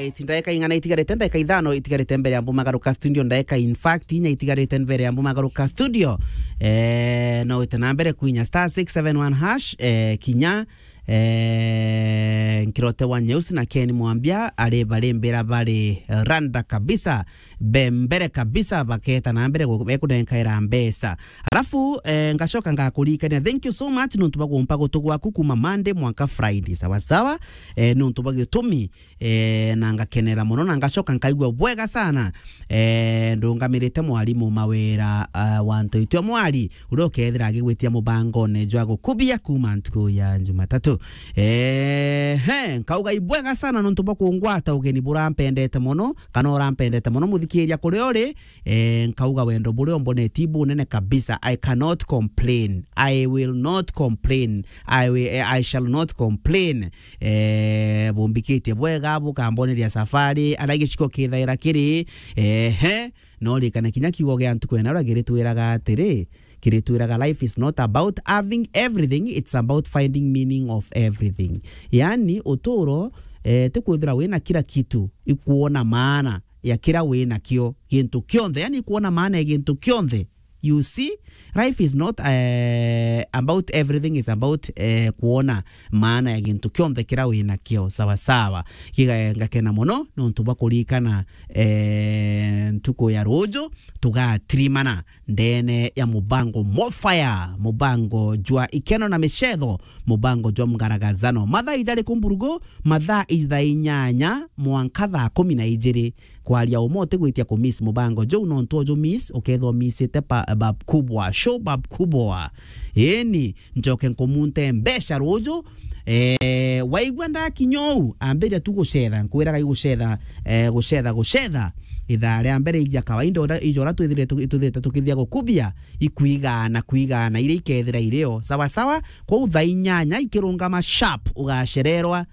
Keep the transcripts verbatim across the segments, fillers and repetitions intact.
Eti ndaika ing'ana itigarite? Ndaika ithano itigarite mbere ya mbumagaruka studio. Ndaika, in fact, inya itigarite mbere ya mbumagaruka studio. Eh, no wite na mbere kuinya star six seven one hash, eh, kinya, eh, nkirote wa Nyeusi na Ken Mwambia, ari bari mbira bari, eh, randa kabisa, be mbere kabisa, baketa na mbere gu-, bekunenkaira mbeca. Alafu, eh, ngacoka ngakurikania, thank you so much nontu bwa gumpa gutu gwaku kuma Monday mwanka Friday, sawa sawa, eh, nontu bwa gitumi, eh, na ngakenera mono, na ngacoka nkaigua bwega sana, eh, ndungamirite mwarimu Mawira, eh, wa Ntoitio Mwari, uria ukethira agigwitia mubangone jwa gukubia kuma ntuku ya Jumatatu. Eh, he, nkauga ibwega sana nontu bwa kungwata ugeni burampendete mono, kana urampendete mono, muthikiria kuria uri, eh, nkauga wendo buria umboneti bunene kabisa. I cannot complain. I will not complain. I will, eh, I shall not complain. Eh, bumbikitie bwega, bukamboneria safari, aria giciko kithaira kiri, ehe, no rikane kinya kiugo gia ntuku ena uria giritwiraga atiri, kiritwiraga, life is not about having everything, it's about finding meaning of everything. Yani, uturo, eh, ti kwithira wina kila kitu, ikuona maana ya kira wina kio, gintu kionthe, yani, ikuona maana ya gintu kionthe. You see, life is not, eh, about everything, is about, eh, kuona maana ya gintu kionthe kira wina kio, sawa sawa. Kiga, ngakena mono nontu bwa kurikana, eh, ntuku ya ruju, tugatirimana ndene ya mubango Mofire, mubango jwa ikeno na micetho, mubango jwa mgaragazano. Mathaa ijari kumburugu, mathaa ija thaa inyanya mwanka thaa kumi na ijiri. Kwaria uma utigwitia ku miss mubango juu, nontu uju miss, ukethwa missite pa-, bab kubwa, show bab kubwa. Eni, njoke nkumunte mbeca ruju. Eh, waigua ndakinya uu, ambiria tu gucetha, nkwiraga igucetha, eh, gucetha, gucetha. Ithaa ria mbere ija kawaida, ura-, ijo uria twithire tu-, twithirite tukithia gukubia, ikwigana, kwigana, iria ikethira irio. Sawa sawa, kwou thaa inyanya ikirungama sharp, ugacererwa.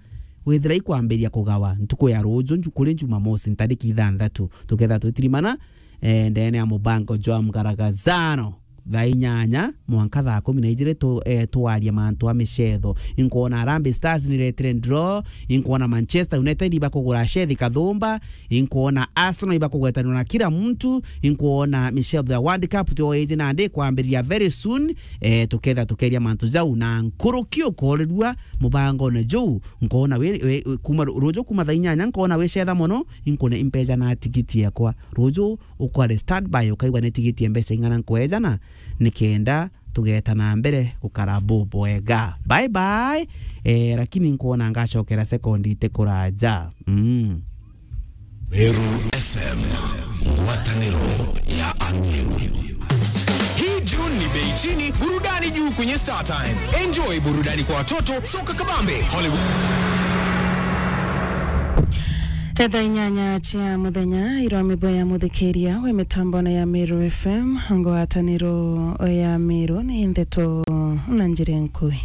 Withira ikwambiria kugawa ntuku ya ruju, nju-, kuri Jumamosi, ntariki ithanthatu, tukethira twitirimana, eh, ndene ya mubango jwa mgaragazano. Thaa inyanya mwanka thaa kumi na ijiri tu-, eh, twaria mantu a micetho. Inkwona Harambee Stars niretire draw, inkwona Manchester United ibakugura Shethi Kathumba, inkwona Arsenal ibakugwetanirwa na kila mtu, inkwona micetho ya World Cup tio iji nandi ikwambiriria very soon, eh, tuketha tukeria mantu jau na nkuruki ukorirua mubangone juu. Nkoona wi, wi, wi, kuma ru-, ruju kuma thaa inyanya nkoona wicetha mono, inkune impeja na tigiti yakwa. Ruju ukware standby, ukaigua ni tigiti ya mbeca ing'ana nkwejana, nikenda tugeta na mbere gukara bubwega. Bye bye. Eh, lakini nkwona ngacokera sekondi itikuraja. Mm. Meru F M, ngwataniro ya Ameru. Hii June ni bei chini, burudani juu kwenye Star Times. Enjoy burudani kwa watoto, soka kabambe, Hollywood. Thaa inyanya cia muthenya, irwa mibo ya muthikiria we mitambone ya Meru F M, ngwataniro ya Meru ni ndeto na njira nkui.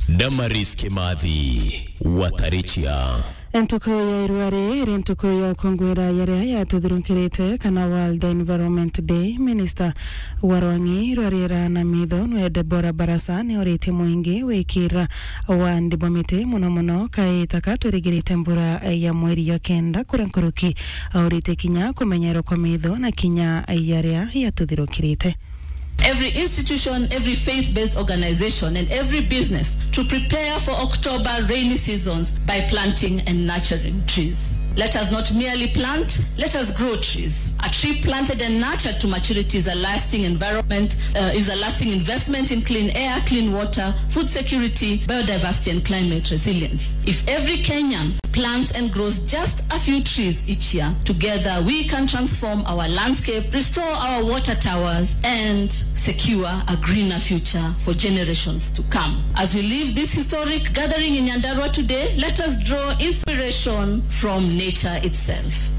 Damaris Kimathi, Watarichia. Ntuku ya irua ri iri ntuku ya ukungwira yaria yatuthirukirite kana World Environment Day. Minister wa rwang'i rwa riera na mitho nwe Deborah Barasa ni oritie mwingi wikira wandi bwa miti, muno muno kaita ka twirigirite mbura ya mweri ya kenda kuria nkuruki. Auritie kinya kumenyerwa kwa mitho na kinya yaria yatuthirukirite. Every institution, every faith-based organization, and every business to prepare for October rainy seasons by planting and nurturing trees. Let us not merely plant, let us grow trees. A tree planted and nurtured to maturity is a lasting environment, uh, is a lasting investment in clean air, clean water, food security, biodiversity, and climate resilience. If every Kenyan plants and grows just a few trees each year, together we can transform our landscape, restore our water towers, and secure a greener future for generations to come. As we leave this historic gathering in Nyandarua today, let us draw inspiration from nature itself.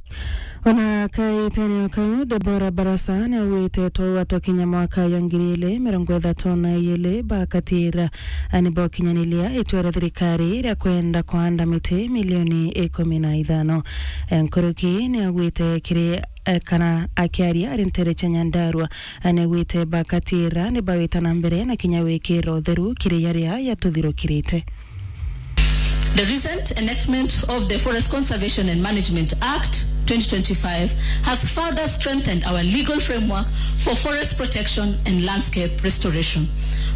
Ona kaitene o kau, Deborah Barasa ni augite twaua twakinya mwaka ya ngiri ili mirongo ithatu na ili bakatira, ani bokinyanilia itwera thirikari ria kwenda kwanda miti milioni ikumi na ithano. Nkuruki ni augite kiri, eh, kana akiaria ari ntere cia Nyandarua, ni augite bakatira ni bawita na mbere na kinya wikira utheru kiri yaria yatuthirukirite. The recent enactment of the Forest Conservation and Management Act twenty twenty-five has further strengthened our legal framework for forest protection and landscape restoration,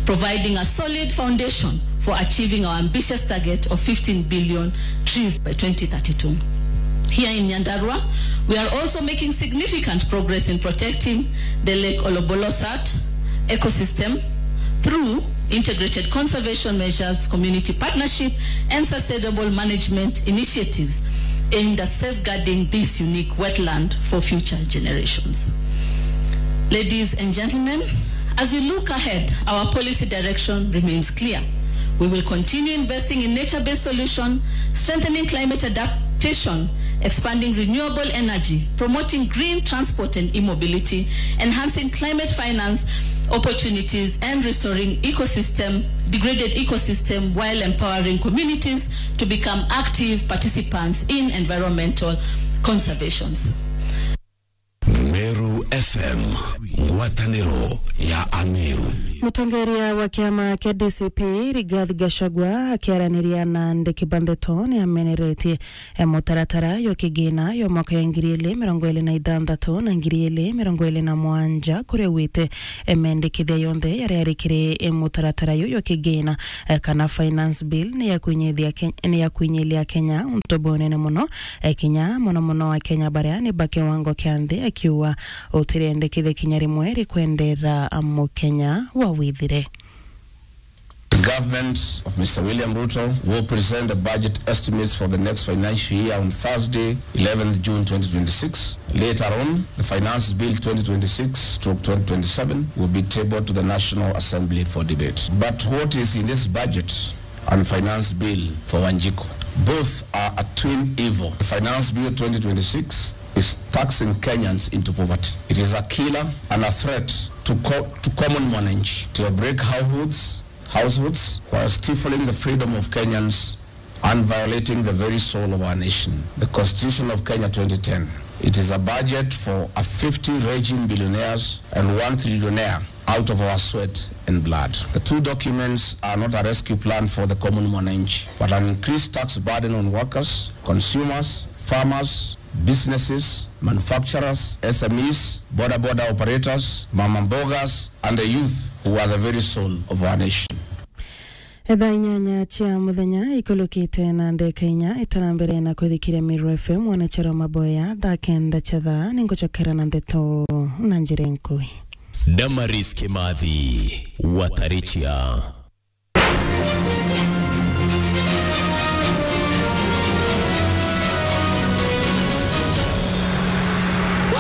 providing a solid foundation for achieving our ambitious target of fifteen billion trees by twenty thirty-two. Here in Nyandarua, we are also making significant progress in protecting the Lake Olobolosat ecosystem through integrated conservation measures, community partnership, and sustainable management initiatives aimed at safeguarding this unique wetland for future generations. Ladies and gentlemen, as we look ahead, our policy direction remains clear. We will continue investing in nature-based solutions, strengthening climate adaptation, expanding renewable energy, promoting green transport and e-mobility, enhancing climate finance opportunities, and restoring ecosystem, degraded ecosystem, while empowering communities to become active participants in environmental conservations. Meru F M, ngwatanĩro ya Ameru. Mũtongeria wa kĩama kĩa D C P, Rigathi Gachagua, akĩaranĩria na andĩki ba ndeto, nĩ ameneretie, e, mũtaratara yo kĩgĩna yo mwaka ya ngiri igĩrĩ mĩrongo ĩrĩ na ithathatũ na ngiri igĩrĩ mĩrongo ĩrĩ na mũgwanja, kũrĩa augĩte, e, mendekithia yonthe yarĩa yarĩ kĩrĩ, e, mũtaratara yo yo kĩgĩna, e, kana finance bill, nĩ ya kwinyithia Ke-, nĩ ya kwinyithia Kenya ũntu bunene mũno, e, kinya mono mono Akenya baria ni ba kiwango kia nthi, akiuga utirendekithia kinya rimwe rikwendeera Mukenya wa withire. The government of Mister William Ruto will present the budget estimates for the next financial year on Thursday, eleventh June twenty twenty-six. Later on, the Finance Bill twenty twenty-six stroke twenty twenty-seven will be tabled to the National Assembly for debate. But what is in this budget and Finance Bill for Wanjiko? Both are a twin evil. The Finance Bill twenty twenty-six is taxing Kenyans into poverty. It is a killer and a threat to co-, to common mwananchi, to break households, households, while stifling the freedom of Kenyans and violating the very soul of our nation. The Constitution of Kenya twenty ten. It is a budget for a fifty raging billionaires and one trillionaire out of our sweat and blood. The two documents are not a rescue plan for the common mwananchi, but an increased tax burden on workers, consumers, farmers, businesses, manufacturers, S M Es, boda boda operators, mama mbogas, and the youth, who are the very soul of our nation. Thaa inyanya cia muthenya ikulukite na ndeka inya itarambere na kwithikiria Meru F M, mwanachero maboya thaa kenda cia thaa, ningucokera na ndeto na njira nkui. Damaris Kimathi, Watarichia.